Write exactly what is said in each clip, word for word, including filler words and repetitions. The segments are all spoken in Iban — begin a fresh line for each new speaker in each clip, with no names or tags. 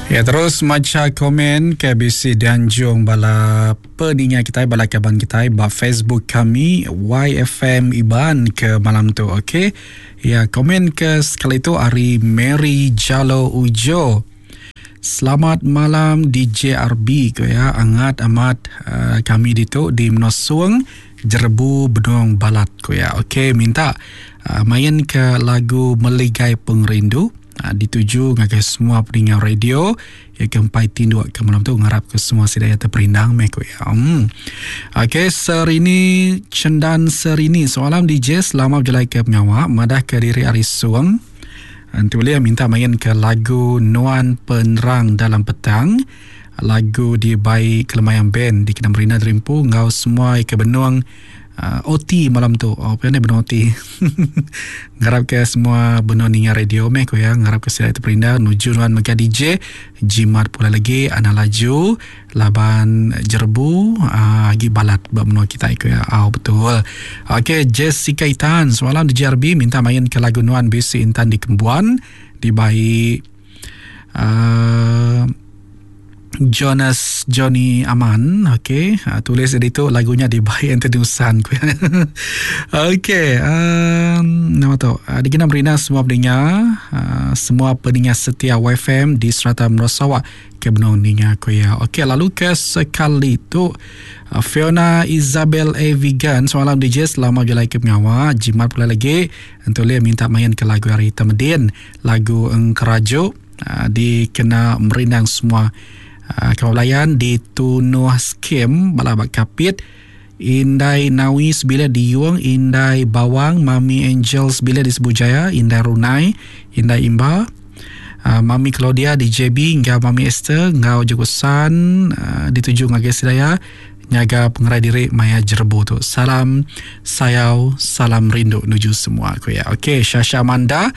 Ya, terus macha komen ke bisi dianjung bala peninga kita, bala kaban kita ba Facebook kami Y F M Iban ke malam tu, okey. Ya, komen ke sekali tu ari Mary Jalo Ujo. "Selamat malam D J R B," ko ya. "Angat amat uh, kami ditu di Menosung, jerebu benung balat," ko ya. Okey, minta uh, main ke lagu Meligai Pengerindu uh, dituju ngagai semua pendengar radio ya ke empai tinduk ke malam tu, ngarap ke semua sida ya terperindang meh, ko ya. Hmm. Okey, Serini Cendan Serini, "Selamat D J, selamat berjalan ke pengawak, madah ke diri ari Suang. Nanti boleh minta main ke lagu Nuan Penerang Dalam Petang, lagu di baik Kelemayang Band, di kena Marina Terimpu ngau semua ke benung uh, O T malam tu." Oh, apa ni benung O T? "Ngarap ke semua benung ninga radio meh," ko ya. "Ngarap ke sida terperindang nuju nuan mega D J. Jimat pula lagi, ana laju laban jerebu uh, agi balat ba menua kita," ko ya. Oh, betul. Okey, Jessica Itan, "Semalam D J R B, minta main ke lagu Nuan Bisi Intan di Kembuan di baik uh, Jonas Johnny Aman." Okey, uh, tulis di tu lagunya di baik Anthony Usan. Okey, um, nama tu. Uh, Dikena merina semua pendengar, uh, semua pendengar setia Y F M di serata menua Sarawak ke benung ninga, ko ya. Okey, lalu ke sekali tu uh, Fiona Isabel A. Vegan, "Semalam D J, selamat berjalan ke pengawal, jimat pula lagi. Untuk dia minta main ke lagu hari Temedin, lagu Engkerajuk, uh, dikena merindang semua uh, kawan di Tunuh Skim Balabak Kapit, Indai Nawi Sebila di Yuang, Indai Bawang, Mami Angel Sebila di Sebujaya, Indai Runai, Indai Imba, uh, Mami Claudia di J B, ngau Mami Esther, ngau Jogosan, uh, dituju ngagai Sidaya, nyaga pengerai diri maya jerebu tu. Salam sayau, salam rindu nuju semua," aku ya. Okey, Shasha Amanda,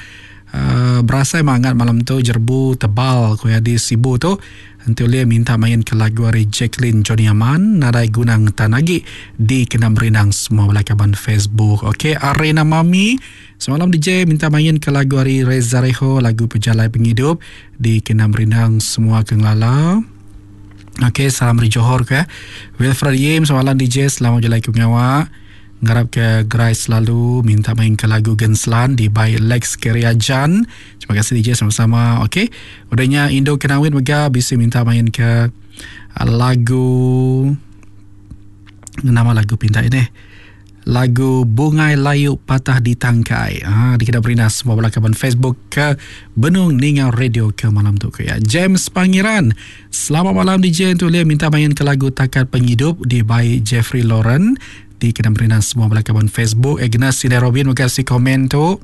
uh, berasa hangat malam tu, jerebu tebal, ko ya, di Sibu tu. Nanti boleh minta main ke lagu hari Jacqueline Johnny Aman, Nadai Gunang Tanagi, di kena merindang semua kaban Facebook. Okey, Arena Mami, "Semalam D J, minta main ke lagu hari Reza Reho, lagu Pejalai Penghidup, di kena merindang semua kenglala." Okey, salam dari Johor ke. Wilfred Yim, "Semalam D J, selamat jalan ke pengawak. Ngarap ke gerai selalu, minta main ke lagu Genslan di by Lex Keriajan. Terima kasih D J, sama-sama." Okey. Udahnya Indo Kenawin mega bisa minta main ke uh, lagu, nama lagu pinta ini, lagu Bungai Layu Patah di Tangkai. Ha, di kita beri semua belakaban Facebook ke Benung Ninga Radio ke malam tu ke ya. James Pangeran, "Selamat malam D J, untuk dia minta main ke lagu Takat Penghidup di by Jeffrey Lauren, di kena beri semua belakaban Facebook." Agnes Sina Robin, terima kasih komen tu.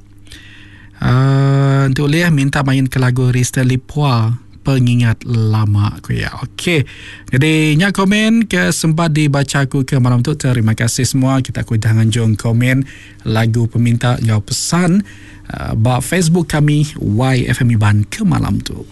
Uh, untuk liah minta main ke lagu Rista Lipua, Pengingat Lama aku ya. Okey. Jadi nyak komen ke sempat dibaca aku ke malam tu. Terima kasih semua. Kita aku dah nganjung komen lagu peminta ngau pesan uh, ba Facebook kami Y F M Iban ke malam tu.